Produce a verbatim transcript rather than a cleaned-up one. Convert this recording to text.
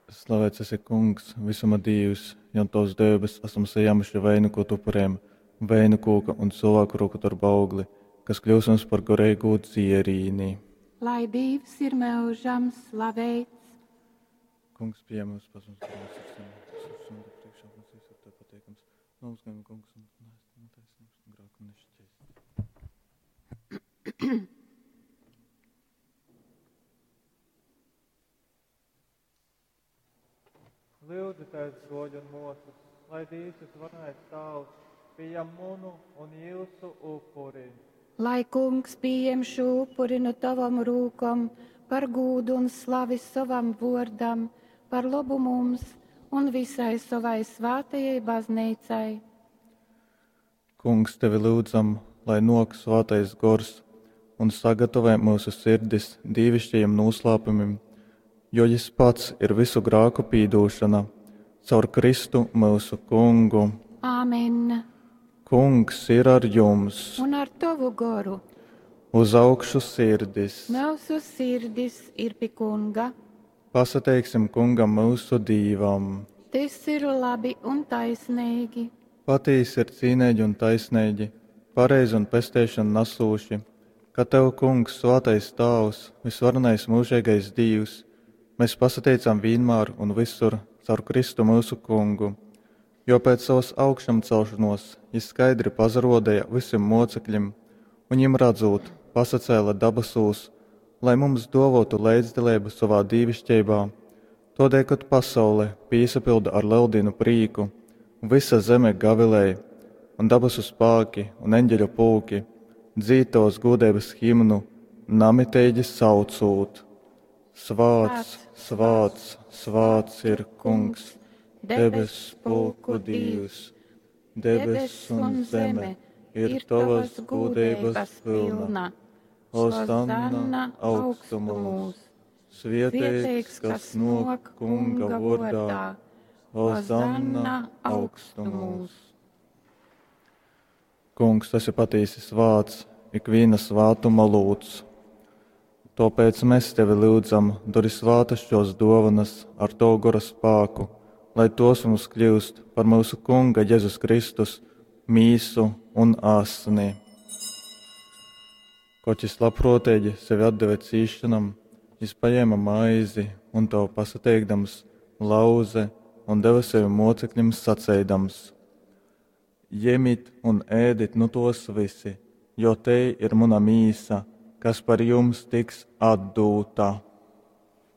Slavēts esi, Kungs, visuma Dīvs, jo Tavs dēbes esam sajēmuši vainu, ko Tu upurējam, vainu kūka un cilvēku roku darba augli, kas kļūs mums par garīgu dzierīni. Lai Dievs ir mūžam slavēts. Kungs, pieņem mums pats mums grēkus, un priekšā mums viss ir Tev pateikams. Mums gan, Kungs, un netaisnības un grēku nešķies. Lūdzieties, broļi un mosas, lai Dievs visvarenais Tēvs pieņem munu un jūsu upuri. Lai Kungs pieņem šo upuri no tavam rūkom par gūdu un slavi savam vārdam, par labu mums un visai savai svētajai baznīcai. Kungs, tevi lūdzam, lai nok svētais gors un sagatavē mūsu sirdis dīvišķajiem noslēpumiem, jo Jis pats ir visu grēku pīdūšana, caur Kristu mūsu Kungu. Āmen. Kungs ir ar jums, Un ar tavu goru uz augšu sirdis. mūsu sirdis ir pie Kunga. Pasateiksim Kungam mūsu Dīvam. Tas ir labi un taisnīgi. Patīsi ir cīnīgi un taisnīgi, pareizi un pesteišanu nesūši, ka Tev, Kungs, svētais Tāvs, visvarenais mūžīgais Dievs, mēs pasateicam vienmēr un visur caur Kristu mūsu Kungu, jo pēc savas augšamcelšanos Jis skaidri pazarodēja visiem mocekļiem, un viņiem redzot, pasacēla dabasūs, lai mums dovotu līdzdalību savā dīvišķībā. Todēļ, kad pasaule pīsapilda ar lieldienu prīku, visa zeme gavilēja, un dabasu spāki un eņģeļu pulki dzīd tavas gudrības himnu, namiteigi saucūt. Svāts, svāts, svāts ir Kungs, debes pulku Dievs, debes un zeme ir tavas gudrības pilna. Hosanna augstumos, svietēts, kas nok Kunga vārdā, Hosanna augstumos. Kungs, esi patīsi svāts, ikviena svātuma lūdz. Tāpēc mēs tevi lūdzam, dori svātas šos dovanas ar tavu gora spēku, lai tos mums kļūst par mūsu Kunga Jēzus Kristus mīsu un asni. Koč jis labprātīgi sevi atdeva cīšanam, jis paņēma maizi un to pasateikdams lauze un deva sevi mocekļiem sacēdams: Ņemiet un ēdit nu tos visi, jo te ir mana mīsa, kas par jums tiks atdūta.